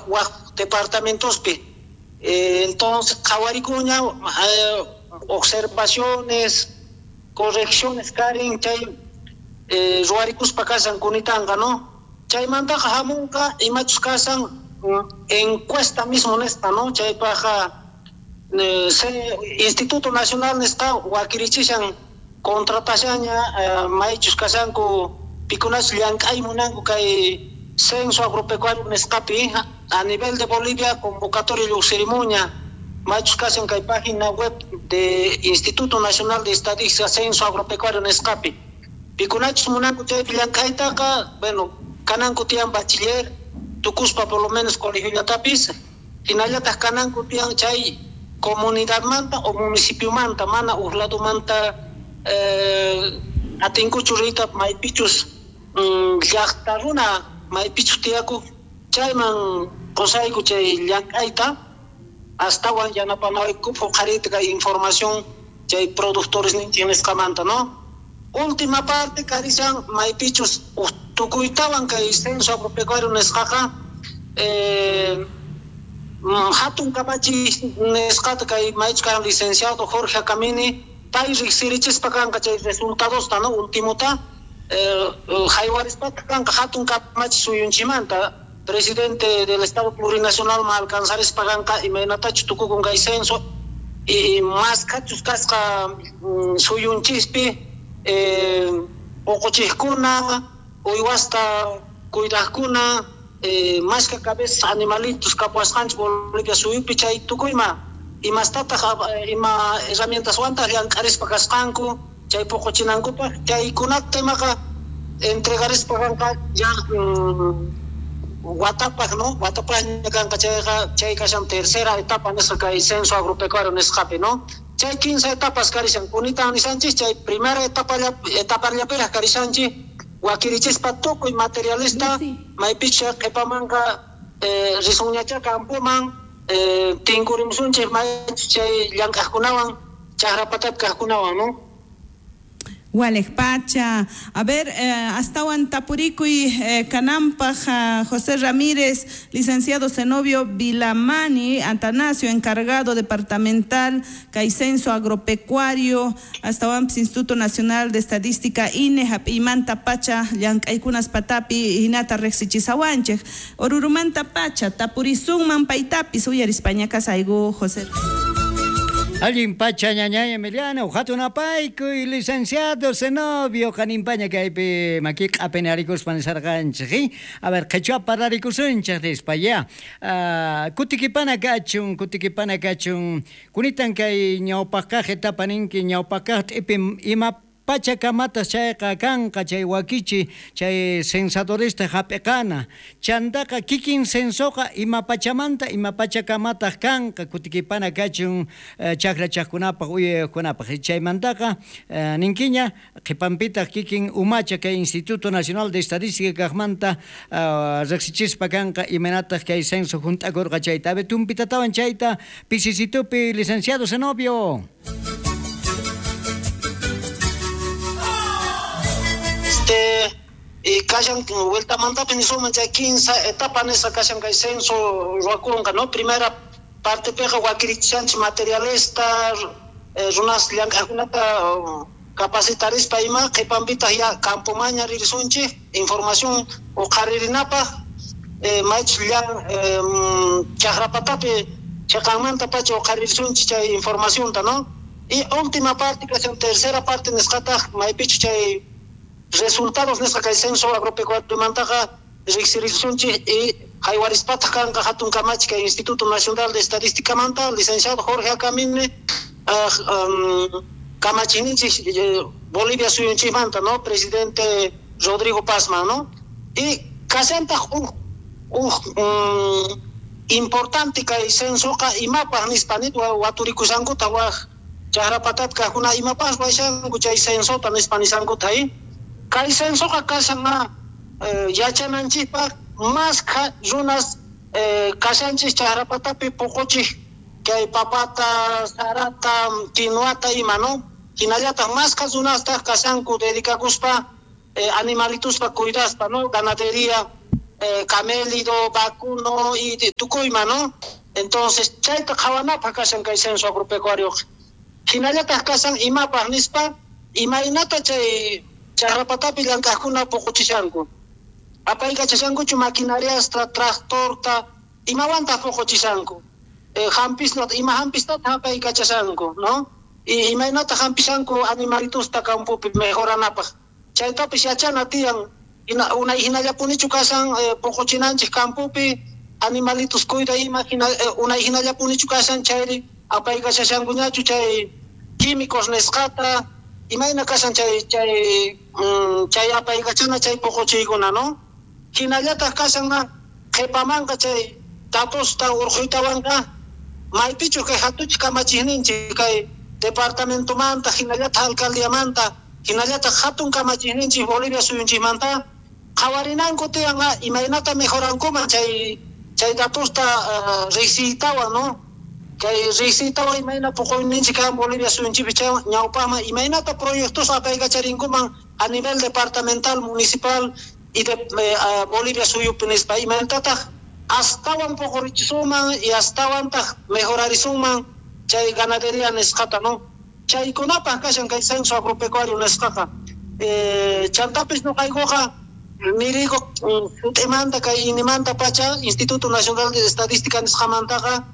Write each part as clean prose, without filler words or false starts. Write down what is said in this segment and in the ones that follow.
Waj departamentospi. Entonces qhawarikuña observaciones, correcciones karin chay ruwarikuspa kashan kunitanqa, no? Chaymantaqa hamunqa imachus kashan encuesta mismo nisqa, no? Chaypaqqa Instituto Nacional nisqa wakirichishan, contratashanña maychus kashanku pikunachus llank'ay munanku kay censo agropecuario nisqapi a nivel de Bolivia convocatoria lluqsirimuña maychus kashan kay página web de Instituto Nacional de Estadística censo agropecuario nisqapi pikunachus munanku chaypi llank'aytaqa, bueno, kananku tiyan bachiller tukuspa por lo menos colegiollatapis, hinallataq kananku tiyan chay comunidadmanta o municipiomanta, mana uj ladomanta atinkuchu riyta maypichus llaqta runa maypichus tiyakuq chayman qusayku chay llank'ayta astawan yanapanaykupaq uqhariyta kay información chay productores ninchik nisqamanta, no? Última parte karishan maypichus tukuytawan kay censo agropecuario nisqaqa hatun kamachiy nisqata kay maychus karan licenciado Jorge Akamine pay riqsirichispa kanqa chay resultadosta, no? Ultimota haywarispa kanqa hatun kamachiy suyunchikmanta presidente del Estado Plurinacional ma alcanzarispa kanqa imaynatachus tukukun kay censo y mashkhachus kasqa suyunchispi uquchiqkuna, uywasta cuidaqkuna, mashkha cabezas animalitos kapuwasqanchik Bolivia suyupi chay tukuyma imastataq ima herramientaswantaq llank'arispa kasqanku chay puquchinankupaq chaykunata imaqa entregarispa kanqa ya watapaq, no? Watapaqña kanqa chayqa chay kashan tercera etapa nisqa kay censo agropecuario nisqapi, no? Chay 15 etapas karishan kunitan nishanchik chay primera etapallapiraq karishanchik wakirichispa tukuy materialista maypicha qhipamanqa risunñacha campoman tinkurimusunchik maychus chay llank'aqkunawan chaqrapatapi kaqkunawan, no? Walej pacha. A ver, astawan tapurikuy kanampaj José Ramírez, licenciado Zenobio Vilamani, Atanasio, encargado departamental, kay censo agropecuario, astawan Instituto Nacional de Estadística, INE, hap'imanta pacha, llank'aykunas patapi, hinata riqsichisawanchik. Orurumanta pacha, tapurisunman paytapis, uyarispaña kasayku, José. Allin pacha ñañay Emiliano, hatunapaykuy licenciado Zenobio, qanimpaña kaypi maki q'apinarikuspa nisarqanchik. A ver, qhichwa parlarikusunchik nispa ya. Kutikipana kachun, kutikipana kachun. Kunitan kay ñawpaqkaq etapa ninki, ñawpaqkaq t'ipi ima pacha kamatas chayqa kanqa chay wakichi chay censadorista hap'iqana. Chantaqa kikin censoqa ima pachamanta ima pacha kamataq kanqa kutikipana kachun chakrachaqkunapaq uyayuqkunapaq. Chaymantaqa ninkiña qhipanpitaq kikin umacha kay Instituto Nacional de Estadística kaqmanta riqsichispa kanqa imaynataq kay censo hunt'akurqa chayta. A ver, tumpitatawan chayta pisisitupi licenciado Zenobio. Y kashan vueltamantapi nisuman chay 15 etapa nisqa kashan kay censo ruwakunqa, no? Primera partepiqa wakirichishanchik materialista, runas llank'aqkunata capacitarispa ima qhipanpitaq ya campomaña ririsunchik información uqharirinapaq, maychus llan chaqrapatapi chiqanmanta pacha uqharirisunchik chay informacionta, no? Y última parte kashan tercera parte nisqataq maypichus chay resultados nisqa kay censo agropecuariomantaqa riqsirisunchik y haywarispataq kanqa hatun kamachi kay Instituto Nacional de Estadísticamanta licenciado Jorge Akamine kamachiyninchik Bolivia suyunchikmanta, no? Presidente Rodrigo Pazman, no? Y kashantaq uj importante kay censoqa imapaq nispa waturikushankuta waj chaqrapatapi kaqkuna imapaq ruwashanku chay censota nispa nishankuta. Kay censoqa kashan yachananchikpaq mashkha runas kashanchik chaqrapatapi puquchik kay papata, sarata, quinoata ima, no? Hinallataq mashkha runastaq kashanku dedicakuspa animalituspa cuidaspa, no? Ganadería Camélido, vacuno y tukuyma, ¿no? Entonces chayta qhawanapaq kashan kay censo agropecuario. Hinallataq kashan imapaq nispa imaynata chay chakrapatapi llank'aqkuna puquchishanku. Apaykachashankuchu maquinariasta, tractorta, imawantaq puquchishanku. Hampisnata, ima hampistata apaykachashanku, ¿no? Y imaynata hampishanku animalitusta campopi mejoranapaq. Chaytapis yachana tiyan unay hinallapunichu kashan puquchinanchik campopi animalitos cuida ima unay hinallapunichu kashan chayri apaykachashankuñachu chay químicos nisqata imayna kashan chay chay chay apaykachana chay puquchiykuna, ¿no? Hinallataq kashan qhipamanqa chay datosta urquytawanqa maypichu kay hatuchik kamachikninchik kay departamentomanta hinallataq alcaldiamanta hinallataq hatun kamachikninchik Bolivia suyunchikmanta qhawarinanku tiyanqa imaynata mejorankuman chay chay datosta riqsiytawan, ¿no? Kay riqsiytawan imayna puquyninchik kan Bolivia suyunchikpi chay ñawpaqman imaynata proyectos apaykacharinkuman a nivel departamental, municipal y de Bolivia suyupi nispa imaynatataq astawan puqurichisuman y astawantaq mejorarisunman chay ganadería nisqata, ¿no? Chaykunapaq kashan kay censo agropecuario nisqaqa. Chantapis nuqaykuqa nirigo sut'imanta kay inimanta pacha Instituto Nacional de Estadística nisqamantaqa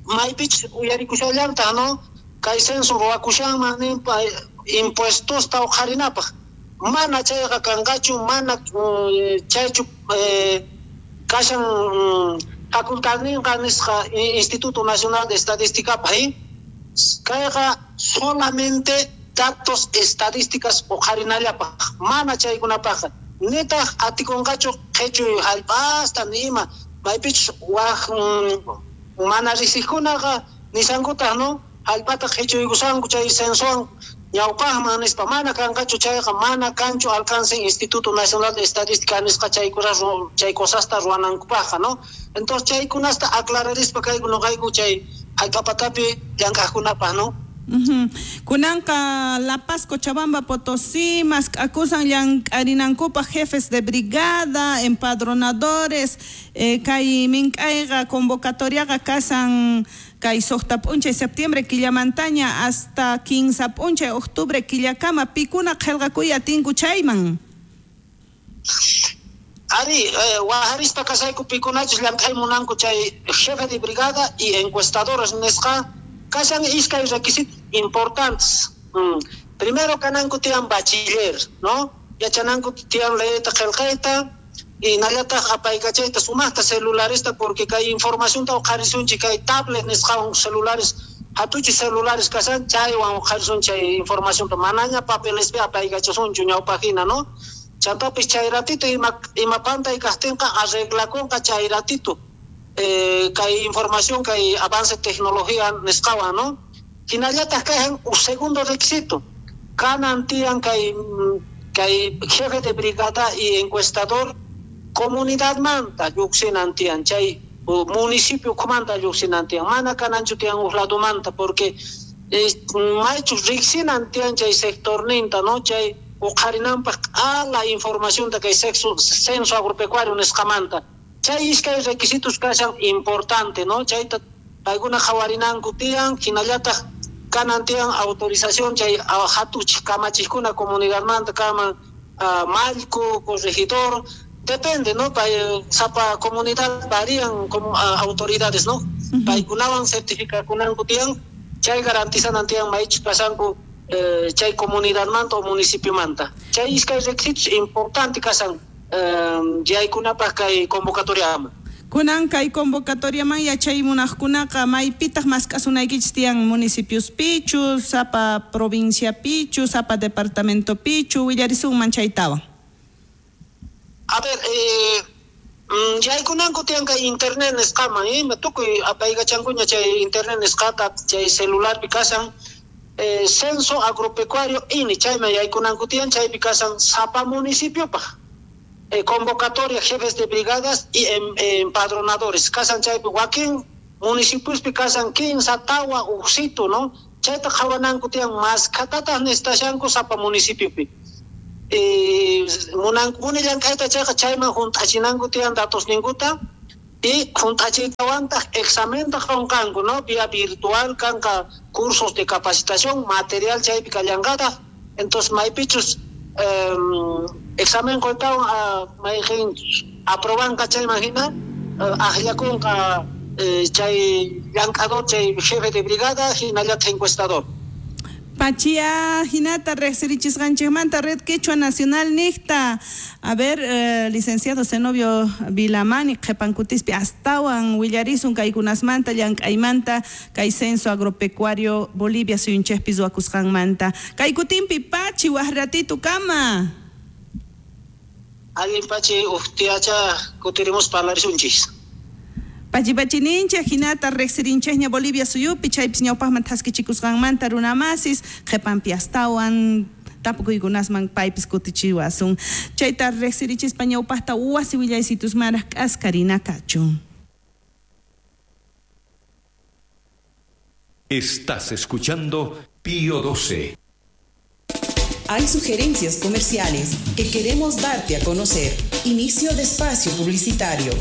maypich uyarikushallantaq, ¿no? Kay censo ruwakushanman ninpa impuestosta uqharinapaq. Mana chayqa kanqachu, mana chaychu kashan facultadninqa nisqa Instituto Nacional de Estadísticapaq. Kayqa solamente datos estadísticas uqharinallapaq, mana chaykunapaqqa. Nitaq atikunqachu qhichuy hallp'asta ni ima maypichus waj mana riqsiqkunaqa nisankutaq, ¿no? Hallp'ata qhichuykusanku chay censowan ñawpaqman nispa mana kanqachu chayqa mana kanchu alcance Instituto Nacional de Estadística nisqa chay cosasta ruwanankupaqqa, ¿no? Entonces chaykunasta aclararispa kayku nuqayku chay hallp'apatapi llank'aqkunapaq, ¿no? Kunanqa La Paz, Cochabamba, Potosí, mask'akusan llank'arinankupaq jefes de brigada, empadronadores, kay mink'ayqa convocatoriaqa kasan kay suqta p'unchay septiembre killamantaña hasta 15 p'unchay octubre killakama pikuna qillqakuy atinku chayman. Ari, wajarispa kasayku pikunachus llank'ay munanku chay jefe de brigada y encuestadores nisqa kashan iskay requisitos importantes. Primero kananku tiyan bachiller, ¿no? Yachananku tiyan leeyta qillqayta y nallataq apaykachayta sumaqta celularesta porque kay informacionta uqharisunchik kay tablet nisqawan celulares hatuchi celulares kashan chaywan uqharisun chay informacionta manaña papelespi apaykachasunchu ñawpaqhina, ¿no? Chantapis chay ratito ima pantay kaqtinqa arreglakunqa chay ratito. Kay información, kay avance tecnología nisqawan, ¿no? Hinallataq kayan un segundo requisito. Kanan tiyan kay jefe de brigada y encuestador comunidad manta lluqsinan tiyan chay municipio kumanta lluqsinan tiyan mana kananchu tiyan uq lado manta porque maychus riqsinan tiyan chay sectorninta, ¿no? Chay uqharinanpaq q'ala informacionta kay censo agropecuario nisqamanta. Chay iskay requisitos kashan importante, ¿no? Chayta paykuna qhawarinanku tiyan hinallataq kanan tiyan autorización chay hatuchik kamachiqkuna comunidadmanta kaman mallku, corregidor, depende, ¿no? Sapa comunidad varían como autoridades, ¿no? Paykunawan certificakunanku tiyan chay garantizanan tiyan maychus pasanku chay comunidadmanta o municipiomanta. Chay iskay requisitos importante kashan yaykunapaq kay convocatoriaman. Kunan kay convocatoriaman yachay munaqkunaqa maypitaq mask'asunaykichis tiyan municipiuspichu, sapa provinciapichu, sapa departamentopichu, willarisunman chaytawan. A ver, yaykunanku tiyan kay internet nisqaman, tukuy apaykachankuña chay internet nisqata chay celularpi kashan censo agropecuario INE chayman yaykunanku tiyan chaypi kashan sapa municipiopaq. Convocatoria jefes de brigadas y empadronadores. Kasan chaypi wakin municipiospi kasan 15 tawa uqsitu, ¿no? Chayta qhawananku tiyan maskhatataq nistashanku sapa municipiopi. Munankupuni llank'ayta chayqa chayman hunt'achinanku tiyan datosninkuta y hunt'achiytawantaq examenta qunqanku, ¿no? Vía virtual kanqa cursos de capacitación, material chaypi kallanqataq. Entonces maypichus examen quytawan mayqin aprobanqa chayman hina aqllakunqa chay llank'ador, chay jefe de brigada hinallataq encuestador. Pachia hinata riqsirichisqanchikmanta Red Quechua Nacional niqta. A ver, licenciado Zenobio Vilamani qhipankutispi astawan willarisun kaykunasmanta llank'aymanta kay censo agropecuario Bolivia suyunchikpi ruwakusqanmanta. Kay kutinpi pachi waj ratito kama. Allin pachi uqtiacha kutirimus parlarisunchis. Pachi pachininchik hinata riqsirinchikña Bolivia suyupi chaypis ñawpaqman thaskichikusqanmanta runamasis qhipanpi astawan tapukuykunasman paypis kutichiwasun. Chayta riqsirichispa ñawpaqta wasi willaysitusmanraq k'askarina kachun. Estás escuchando Pío 12. Hay sugerencias comerciales que queremos darte a conocer. Inicio de espacio publicitario.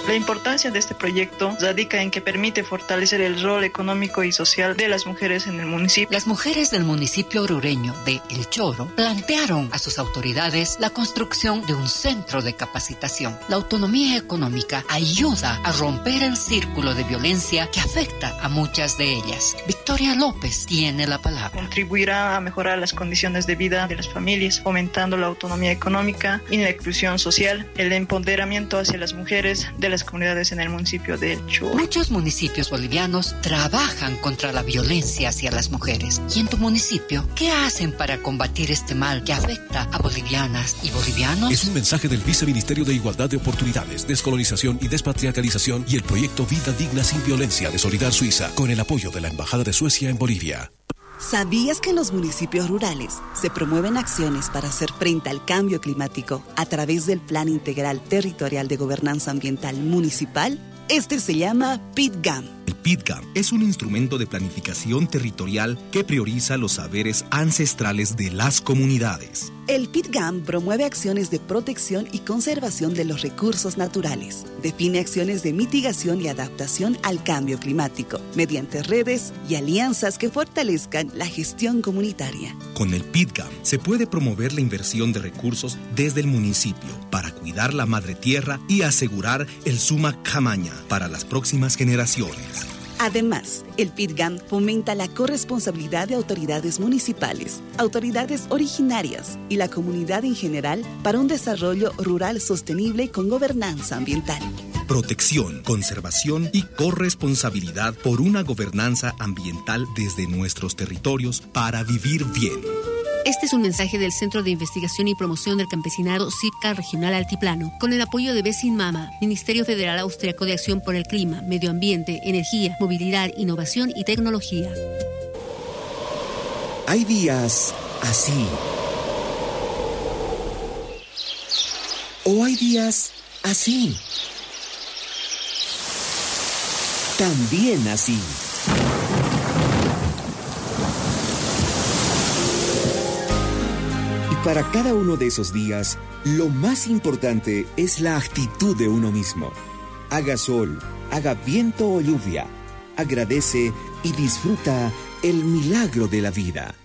La importancia de este proyecto radica en que permite fortalecer el rol económico y social de las mujeres en el municipio. Las mujeres del municipio orureño de El Choro plantearon a sus autoridades la construcción de un centro de capacitación. La autonomía económica ayuda a romper el círculo de violencia que afecta a muchas de ellas. Victoria López tiene la palabra. Contribuirá a mejorar las condiciones de vida de las familias, fomentando la autonomía económica y la inclusión social, el empoderamiento hacia las mujeres de las comunidades en el municipio de El Choro. Muchos municipios bolivianos trabajan contra la violencia hacia las mujeres. ¿Y en tu municipio qué hacen para combatir este mal que afecta a bolivianas y bolivianos? Es un mensaje del Viceministerio de Igualdad de Oportunidades, Descolonización y Despatriarcalización y el proyecto Vida Digna sin Violencia de Solidar Suiza, con el apoyo de la Embajada de Suecia en Bolivia. ¿Sabías que en los municipios rurales se promueven acciones para hacer frente al cambio climático a través del Plan Integral Territorial de Gobernanza Ambiental Municipal? Este se llama PITGAM. El PITGAM es un instrumento de planificación territorial que prioriza los saberes ancestrales de las comunidades. El PITGAM promueve acciones de protección y conservación de los recursos naturales. Define acciones de mitigación y adaptación al cambio climático mediante redes y alianzas que fortalezcan la gestión comunitaria. Con el PITGAM se puede promover la inversión de recursos desde el municipio para cuidar la madre tierra y asegurar el Sumak Jamaña para las próximas generaciones. Además, el PITGAM fomenta la corresponsabilidad de autoridades municipales, autoridades originarias y la comunidad en general para un desarrollo rural sostenible con gobernanza ambiental. Protección, conservación y corresponsabilidad por una gobernanza ambiental desde nuestros territorios para vivir bien. Este es un mensaje del Centro de Investigación y Promoción del Campesinado CIPCA Regional Altiplano, con el apoyo de Besin Mama, Ministerio Federal Austriaco de Acción por el Clima, Medio Ambiente, Energía, Movilidad, Innovación y Tecnología. Hay días así. O hay días así. También así. Para cada uno de esos días, lo más importante es la actitud de uno mismo. Haga sol, haga viento o lluvia, agradece y disfruta el milagro de la vida.